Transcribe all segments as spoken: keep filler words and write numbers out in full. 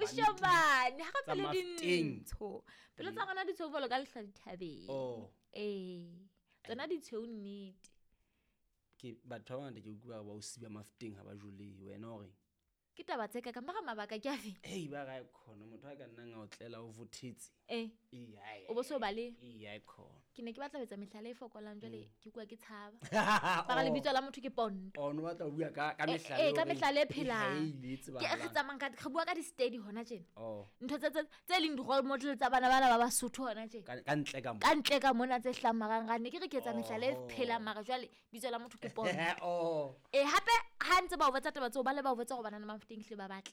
Kushobane ha re Tsa pelo Mafteng. dintsho. Pelo tsa rona di tshweu jwalo ka lehlwa dithabeng. Oh. Ee. Tsona di tshweu nnete. Ke batho ba bangata ke utlwa ba o siba Mafteng ha ba jole wena o reng? Ke taba tse ka ka mara mabaka ke afe? Ei ba ra e khona motho a ka nnang a o tlela o vothetse. Eh. Ee, ai, O bo so bale. Ee, ai khona. Ke ne ke batla ho etsa mehlala e fokolang jwale ke kua ke tshaba. Bara lebitso la motho ke Ponto. Oh, no batla ho bua ka ka Eh, mehlala. eh, ka mehlala e phelang. Ei, le Ke tsebahalang. re tsamayang ka re bua ka di-steady hona tjena. Oh. Ntho tse tse tse leng di-role model tsa bana bana ba Basotho hona tjena. Ka ka ntle ka mo. Ka ntle ka mona tse hlahang marangrang ne ke re ke etsa mehlala e Oh. phelang mara jwale bitso la motho ke Ponto. Oh. Eh hape ha ntse ba o botsa taba tseo ba le ba o botsa hore banana ba Mafteng hlile ba batle.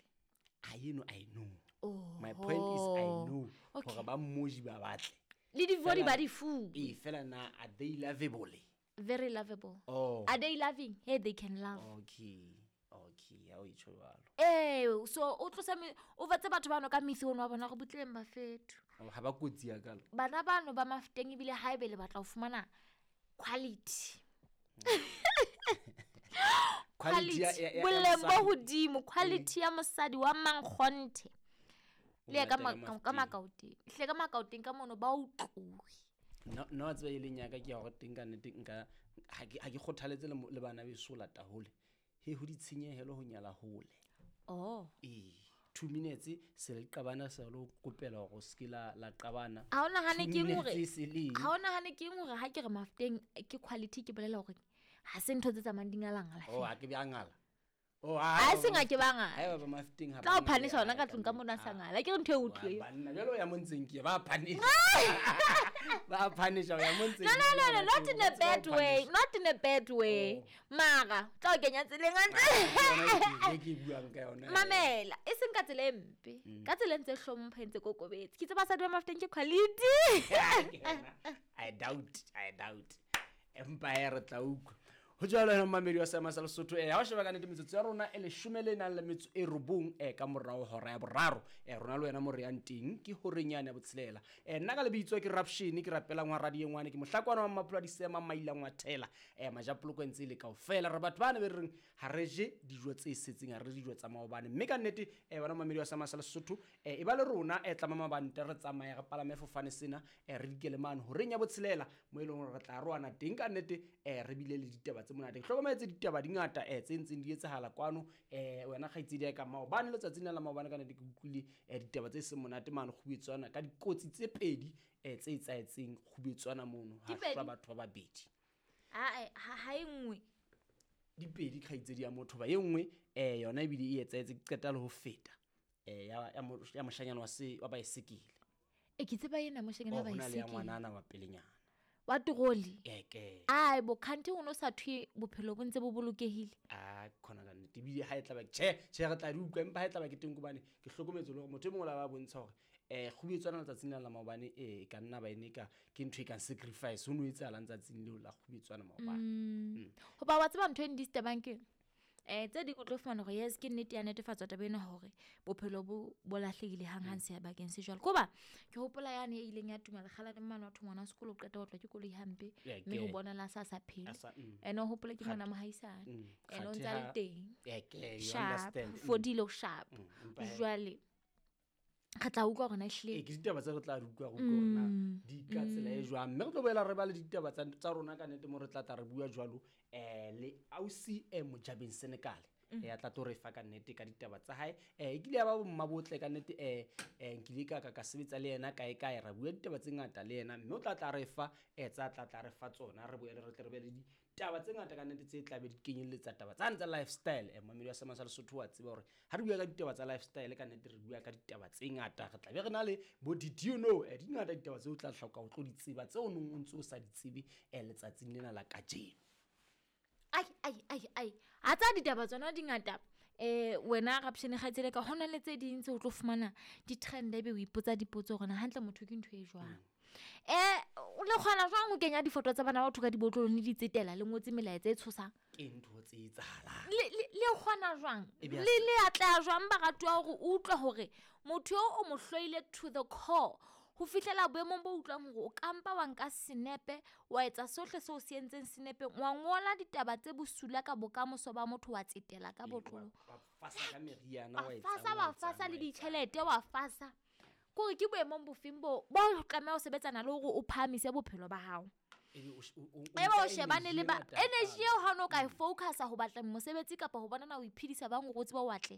I know, I know. Oh. My point is I know. Okay. Hore ba mmoji ba batle. Le di-body Fela- ba di fuwe. Ee, fela na are they lovable? Very lovable. Oh. Are they loving? Hey, they can love. Okay. Okay, ha o e tjho jwalo. Eh, so o tlosa me o batse batho bano ka misi ono wa bona gore butleng ba fetho. Oh, ha ba kotsi ya kalo. Bana bano ba Mafteng ebile haebe le batla ho fumana quality. Quality ya- ya- ya- ya Boleng bo mosadi. hodimo, quality ya mosadi wa mankgonthe. Le ka latela ma- ka Mafteng. Makaoteng. Hle ka Makaoteng ka mono ba o tlohe. No no wa tseba e leng ya ka ke ya hore teng ka nnete nka ha ke ha ke kgothaletse le mo- le bana beso ho lata hole. He ho ditshenyehelo ho nyala hole. Oh. Ee, two minutes se le qabana se lo kopela hore o ske la la qabana. Ha o nahane Two ke eng hore minutes se le eng? ha o nahane ke eng hore ha ke re Mafteng ke quality ke bolela hore ha se ntho tse tsamayang di ngalangala Oh, feela. ha ke be a ngala. Oh, Ha e seng ha ke ba ngala. Haeba ba Mafteng ha Tla o ba phanisha ngale, hona ka ha tlung ka ka mona ah. sa ngala. Ke re ntho e Wa utlwe. banna jwale o ya mo ntseng ke ba phanisha. Ba phanisha o ya mo ntseng. No, no, no, no, not in a Ba bad way. phanisha. Not in a bad way. Oh. Mara, tla o kenya tseleng hantle. Yona e ke buang ka yona. Mamela, e seng ka tsela e mpe. Ka tsela e ntse hlompha e ntse kokobetse. Ke tseba basadi ba Mafteng ke quality. I doubt, I doubt. Empa e re tla utlwa. Ho jwalo hona mmamedi wa Seema sa Lesotho. Eh, ha o sheba ka nnete metsotso ya rona e leshome le nang le metso e robong, eh, ka morao hora ya boraro. Eh, rona le wena mo re yang teng ke horeng yane ya botshelela. Eh, nna ka lebitso ke Rapshini, ke rapelang wa radio ngwane, ke mohlakwana wa Mmapholo a Disema, Mailang wa Thela. Eh, Majapoloko e ntse e le kaofela. Re batho bana be re reng ha re je dijo tse setseng, ha re je dijo tsa maobane. Mme ka nnete, eh, bana mmamedi wa Seema sa Lesotho, eh, e ba le rona, eh, tlama mabante re tsamaye re palame fofane sena, eh, re dikele mane horeng ya botshelela mo e leng hore re tla roana teng ka nnete, eh, re bile le ditaba tse monate. Ke hlokometse ditaba di ngata, eh, tse ntseng di etsahala kwano, eh, wena kgaitsedi ya ka maobane, letsatsing la maobane ka nnete ke utlwile, eh, ditaba tse seng monate mane Kgubetswana ka dikotsi tse pedi, eh, tse etsahetseng Kgubetswana mono, ha Di pedi? hlwa batho ba babedi. Ah, ha, ha e nngwe. Di pedi kgaitsedi ya motho ba e nngwe, eh, yona ebile e etsahetse ke qeta le ho feta, eh, ya, ya mo-, ya moshanyana wa se, wa baesekele. E ke tseba ena moshanyana wa Oh, ho na le ya baesekele. ngwanana wa pelenyana. Wa toroli. Ee, ke. Ai bo khanti o no sa thwe bophelo bo ntse bo bolokehile. Ah, khona ka nnete. Ebile ha e tla ba tjhe, tjhe re tla di utlwa, empa ha e tla ba ke teng hobane ke hlokometse le hore motho e mongwe o la ba bontsha hore, eh, Kgubetswana letsatsing la la maobane, eh, e ka nna ba ene ka ke ntho e kang sacrifice ho no etsahalang tsatsing leo la Kgubetswana maobane. Mm. Hoba wa tseba ntho e ndisturbang ke eng? Eh, tse ding o tlo fumana hore yes ke nnete ya netefatswa taba ena hore bophelo bo, bo lahlehile hanghang sebakeng se jwalo. Koba ke hopola yane e ileng ya tuma lekgala le mmane wa thwe ngwana wa sekolo o qeta ho tlwa ke koloi hampe, Yeah, mme ho ke. bonala a sa sa phele. A sa, mm. Ene o hopola ke Kgat- ngwana mohaisane. Mm, Ene o kgathe ntse a le ha- teng. Yeah, ke, you Sharp, understand. Mm. fodile o sharp. Mm, empa he- Jwale re tla utlwa hore na ehlile Ee, ke ditaba tse re tla di utlwa, re utlwe hore na di ka tsela e jwang. Mme re tlo boela re ba le ditaba tsa, tsa rona ka nnete mo re tla tla re bua jwalo, eh, le ausi, eh, Mojabeng Senekale. Mm. Eh, a tla tlo re fa ka nnete ka ditaba tsa hae. Eh, e kile ya ba bomma botle ka nnete, eh, eh, nkile ka, ka, ka sebetsa le yena kae kae, ra bua ditaba tse ngata le yena, mme o tla tla re fa, eh, tsa tla tla re fa tsona, re boele re tle re be le ditaba tse ngata ka nnete tse tla be di kenyelletsa taba tsane tsa lifestyle. Eh, mmamedi wa Seema sa Lesotho wa tseba hore ha re bua ka ditaba tsa lifestyle ka nnete re bua ka ditaba tse ngata. Re tla be re na le bo did you know, eh, di ngata ditaba tseo o tla hloka ho tlo di tseba, tseo o neng o ntse o sa di tsebe, eh, letsatsing lena la kajeno. Ai, ai, ai, ai. Ha tsa ditaba tsona di ngata. Eh, wena Rapshane kgaitsedi ka hona le tse ding tse o tlo fumana di-trend ebe o ipotsa dipotso hore na hantle motho ke ntho e jwang. Eh, o le kgona jwang ho kenya difoto tsa bana ba batho ka dibotlolong le di tsetela le ngotse melaetsa e tshosang? Ke ntho tse etsahalang. Le, le, le kgona jwang? E be a Le, le atleha jwang baratuwa hore o utlwe hore motho eo o mo hloile to the core ho fihlela boemong bo utlwang hore o ka mpa wa nka senepe, wa etsa sohle seo se entseng senepeng, wa ngola ditaba tse bosula ka bokamoso ba motho, wa tsetela ka Ee, botlolo. wa, wa fasa ka meriana wa fasa wa fasa le ditjhelete wa fasa kore ke boemong bofeng bo bo tlameha ho sebetsana le hore o phahamise bophelo ba hao ebe o shebane le ba energy eo ha no ka e focusa ho batla mosebetsi kapa ho bona na o iphedisa bang hore o tsebe o atle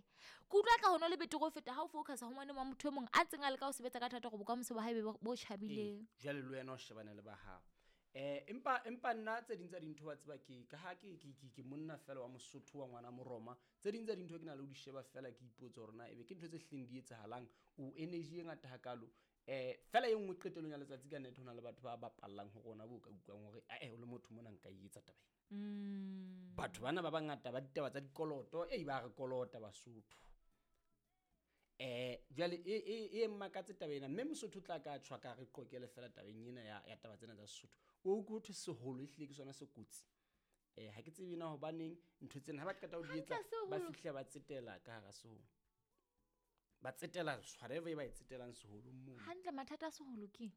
ke utlwa ka hono le betere ho feta ha o focusa ho ngwane wa motho e mong a ntseng a leka ho sebetsa ka thata hore bokamoso ba hae be bo tjhabileng jwale le wena o shebane le ba hao eh empa empa nna tse ding tsa dintho wa tseba ke ka ha ke ke ke monna fela wa Mosotho wa ngwana Moroma tse ding tsa dintho ke na le ho di sheba fela ke ipotsa hore na ebe ke ntho tse hleng di etsahalang o energy e ngata hakalo eh fela e nngwe qetelong ya letsatsi ka nnete hona le batho ba bapallang ho rona bo ka utlwang hore eh o le motho mona nka e etsa taba ena mm batho bana ba bangata ba ditaba tsa dikoloto e ba re kolota Basotho eh jwale e e e mmakatse taba ena mme Mosotho tla ka tshwa ka re qokele fela tabeng ena ya ya taba tsena tsa Sesotho o go thwe seholo ehlile ke sona se kotsi eh ha ke tsebe na hobaneng ntho tsena ha ba qeta ho di etsa ba fihla ba tsetela ka hara seholo ba tsetela whatever e ba e tsetelang seholong moo hantle mathata a seholo ke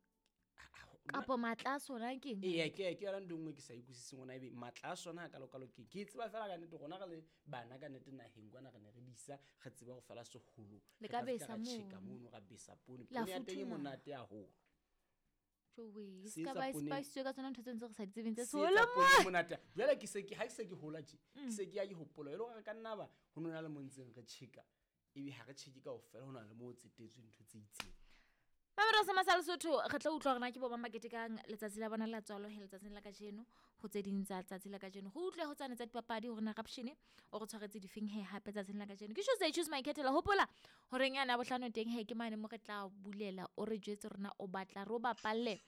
kapo matla a sona ke eng ee ke ke yona ntho nngwe ke sa ikutlwisiseng hona ebe matla a sona ha kalokalo ke ke tseba fela ka nnete rona re le bana ka nnete naheng kwana re ne re disa re tseba ho fela seholo le ka besa tjheka mono ra besa poone poone ya teng e monate haholo jowe Se ska etsa ba poone- spice ka tsona ntho tse ntse re sa di tsebeng tse Se seholo etsa poone e monate jwale ke se ke ha ke se ke hola tje ke se ke ya ke hopola e le hore re ka nna ba ho nona le mo ntseng re tjheka ebe ha re tjheke kaofela ho na le mo o tsetetswe ntho tse itseng Mamelo sa Masale Sotho re tla utlwa hore na ke bo mang ba ketekang letsatsi la bona la tswalo he letsatsing la kajeno ho tse ding tsa letsatsi la kajeno ho utlwe ho tsane tsa dipapadi hore na Rapshane o re tshwaretse difeng he hape tsatsing la kajeno ke Tuesday choose my kettle hopola horeng yana bohlano teng he ke mane mo re tla bulela o re jwetse rona o batla re o bapalle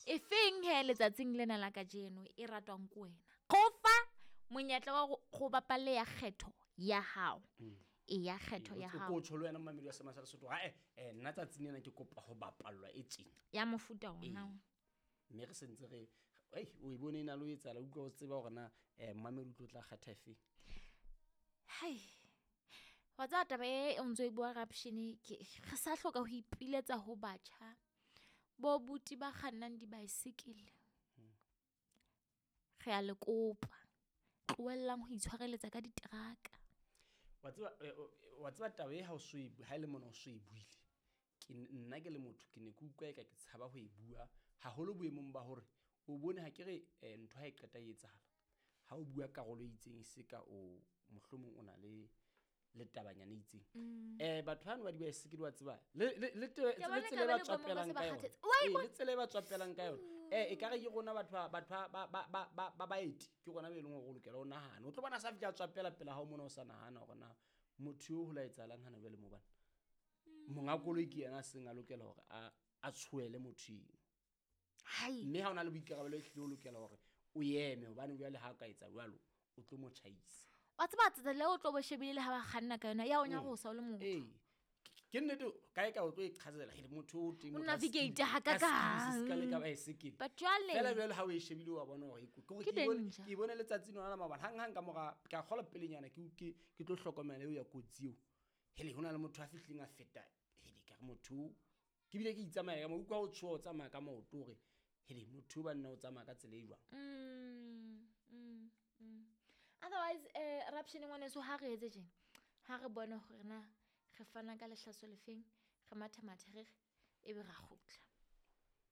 e feng he letsatsing lena la kajeno e ratwang ke wena qofa monyetla wa go- go bapalle ya kgetho ya hao e ya kgetho ya ko hao tjho le wena mmamedi wa Seema sa Lesotho ha eh eh nna tsatsing lena ke kopa ho bapallwa e tjena ya mofuta ona Ee. mme re sentse re ei o e bone e na le ho etsahala utlwa o tseba hore na eh mmamedi o tlo tla kgetha efeng Hai. Wa tseba taba e o ntso e bua Rapshane ke re sa hloka ho ipiletsa ho batjha bo buti ba kgannang dibaesekele. Re a le kopa. Tlohellang ho itshwareletsa ka diteraka. wa tseba eh, o- wa tseba taba e ha o so e bu- ha e le mona o so e buile ke n- nna ke le motho ke ne ke utlwa eka ke tshaba ho e bua haholo boemong ba hore o bone ha ke re eh, ntho ha e qeta e etsahala ha o bua karolo e itseng e se ka o mohlomong o na le le tabanyana e itseng eh batho bano ba dibaesekele wa tseba le le le te- Ke bona le tsela e ekare ba le boemong ba tswapelang se ba ka yona kgathetse. Wa e Ee, bona? le tsela e ba tswapelang ka yona eh e kare ke rona batho ba batho ba ba ba ba ba baeti ke rona be leng hore o lokela o nahana o tlo bona sa fihla a tswapela pela hao mona o sa nahana hore na motho eo ho la etsahalang hana jwale mo bana monga koloi ke yena a seng a lokela hore a a tshoele motho eo Hai. mme ha o na le boikarabelo e hlile o lokela hore o eme hobane jwale ha o ka etsa jwalo o tlo mo tjhaisa Wa tseba tsela eo o tlo bo shebile le ha ba kganna ka yona ya o nyarosa o le motho. ee ke nnete kae kae o tlo iqhazela hele motho o teng O motho a navigate skill- hakakang. a skills se ka le ka baesekele But jwale fela jwale ha o e shebile wa bona hore e ko- ke hore Ke ke e bone- danger. ke e bone letsatsing lona la maobane hanghang ka mora ke a kgolwa pelenyana ke ke ke tlo hlokomela eo ya kotsi eo hele ho na le motho a fihlileng a feta hele ka re motho o ke bile ke itsamaya ka mo utlwa o tshoha o tsamaya ka maoto hore hele motho o banna o tsamaya ka tsela e jwang Mm, mm, mm. Otherwise eh Rapshane ngwaneso ha re etse tjena ha re bone hore na re fana ka lehlaso lefeng re matha mathe re re ebe ra kgutla.